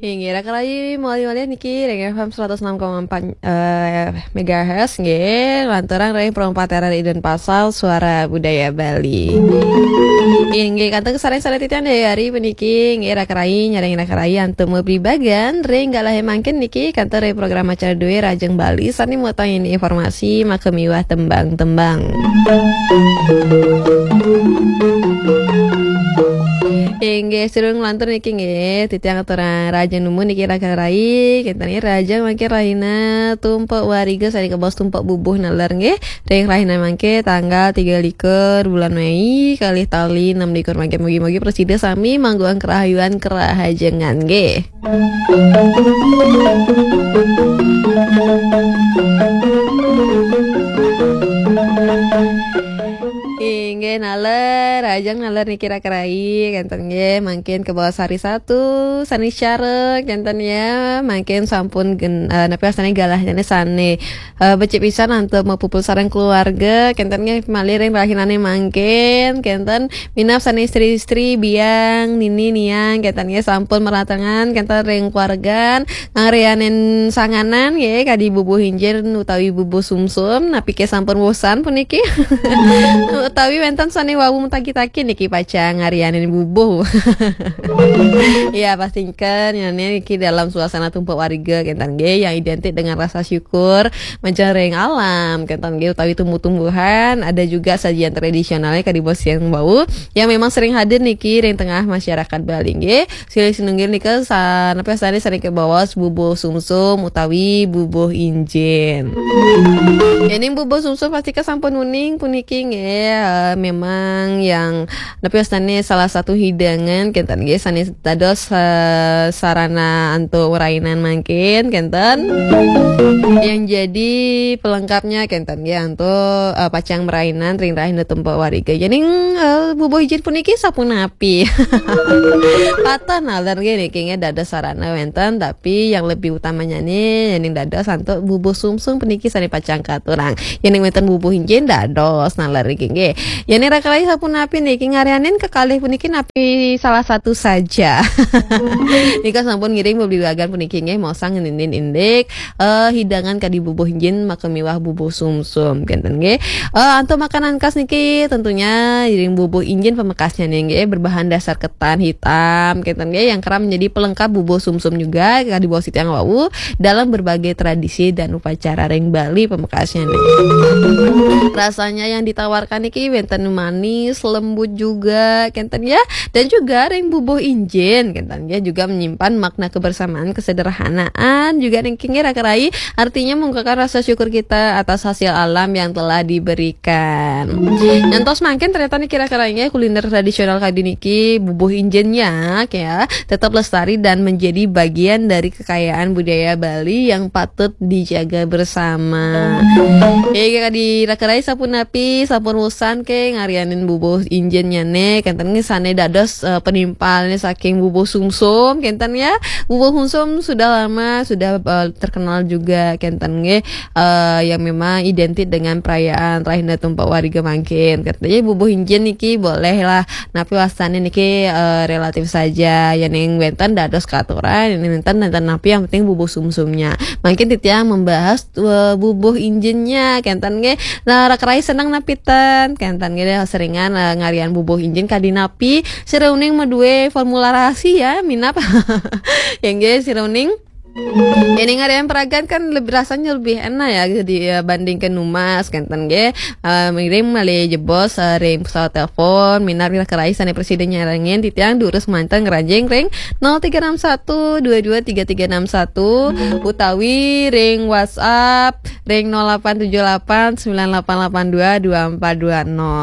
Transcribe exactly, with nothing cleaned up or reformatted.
Inggih, raka rayi, malih-malih niki ring F M seratus enam koma empat, eh, megahertz, nggih, lanturang ring Perumpat Daerah Denpasar, Suara Budaya Bali. Inggih, kantun kasareng-sareng titiang Dayari puniki, nggih, raka rayi, nyarengin raka rayi antuk mabebagan ring galahé mangkin niki, kantun ring program acara dué Rahajeng Bali, sané mautang informasi, maka miwah tembang-tembang. Inggih, sirung lantur niki nggih, titiang aturang rahajeng nunas niki raka rayi, kénten nggih rahajeng mangkin rahina Tumpek Wariga sané kabaos Tumpek Bubuh naler nggih. Ring rahina mangkin tanggal tiga likur bulan Mei, kalih tali enam likur mangkin, mugi-mugi prasida sami mangguhang karahayuan karahajengan nggih. Inggih, naler, rahajeng naler niki raka rayi, kénten nggih, mangkin kabaos hari Sabtu, sané cara, kénten ya, mangkin sampun gen-, eh, napi wastané galahé sané, eh, becik pisan antuk mapupul sareng keluarga, kénten nggih, malih ring rahinané mangkin, kénten minab sané istri-istri, biang, nini, niang, kénten nggih, sampun maratengan, kénten ring keluargan, ngarianin sanganan nggih, kadi bubuh injin utawi bubuh sumsum, napi ké sampun bosan puniki? Utawi wénten sané wau matagi-tagi niki pacang ngarianin bubuh. Ya, pastikan ya niki dalam suasana Tumpek Wariga kénten nggih yang identik dengan rasa syukur, majeng ring alam kénten nggih utawi tumbuh-tumbuhan, ada juga sajian tradisionalnya kadi bos yang bau yang memang sering hadir niki ring tengah masyarakat Bali nggih. Silih sinunggil nika sa-, napi wastané sané kabaos bubuh sumsum utawi bubuh injin. Yéning bubuh sumsum pasti ké sampun uning puniki nggih, eh, memang yang napi wastané salah satu hidangan kénten nggih sané dados, eh, sarana antuk rainan mangkin kénten. Yang jadi pelengkapnya kénten nggih antuk, eh, pacang merainan ring rahina Tumpek Wariga. Yéning, eh, bubuh injin puniki sapunapi? Patah naler nggih niki nggih dados sarana wénten, tapi yang lebih utamanya nih yéning dados antuk bubuh sumsum puniki sané pacang katurang. Yéning wénten bubuh injin dados naler niki nggih. Yéning raka rayi sapunapi niki ngarianin kekalih puniki napi salah satu saja. Nika sampun ngiring bebebagan puniki nggih maosang ngenénin indik, eh, hidangan kadi bubuh injin maka miwah bubuh sumsum kénten nggih. Eh, antuk makanan khas niki tentunya ring bubuh injin pamekasnya nih nggih berbahan dasar ketan hitam kénten nggih yang kerap menjadi pelengkap bubuh sumsum juga kadi bos titiang wau dalam berbagai tradisi dan upacara ring Bali pamekasnya nih. Rasanya yang ditawarkan niki wénten manis, lembut juga kénten ya. Dan juga ring bubuh injin, kénten ya juga menyimpan makna kebersamaan, kesederhanaan, juga niki nggih raka rayi, artinya mengungkapkan rasa syukur kita atas hasil alam yang telah diberikan. Nyantos mangkin ternyata niki raka rayi nggih kuliner tradisional kadi niki bubuh injin ya, ya, tetap lestari dan menjadi bagian dari kekayaan budaya Bali yang patut dijaga bersama. Ya, kadi raka rayi sapunapi, sampun bosan ké ngarianin bubuh injinnya nih, kénten nggih sané dados, eh, penimpalnya saking bubuh sumsum, kénten ya. Bubuh sumsum sudah lama, sudah, eh, terkenal juga, kénten nggih, eh, yang memang identik dengan perayaan Rahina Tumpek Wariga mangkin. Katanya bubuh injin niki boleh lah, napi wastané niki, eh, relatif saja. Yéning wénten dados katurang, yéning wénten, wénten napi yang penting bubuh sumsumnya. Mangkin titiang membahas, eh, bubuh injinnya, kénten nggih. Nah, raka rayi seneng napi ten, kénten nggih seringan, eh, ngarian bubuh injin kadi napi. Sira uning madué formula rahasia, minab. Ya nggih, sira uning. Yéning ngarian peragan kan lebih, rasanya lebih enak ya, dibandingkan numas, kénten nggih. Eh, ngiring malih jebos, eh, ring pesawat telepon, minab raka rayi sané prasida nyarengin titiang durus manten ngranjing ring nol tiga enam satu dua dua tiga tiga enam satu utawi ring WhatsApp ring nol delapan tujuh delapan sembilan delapan delapan dua dua empat dua nol.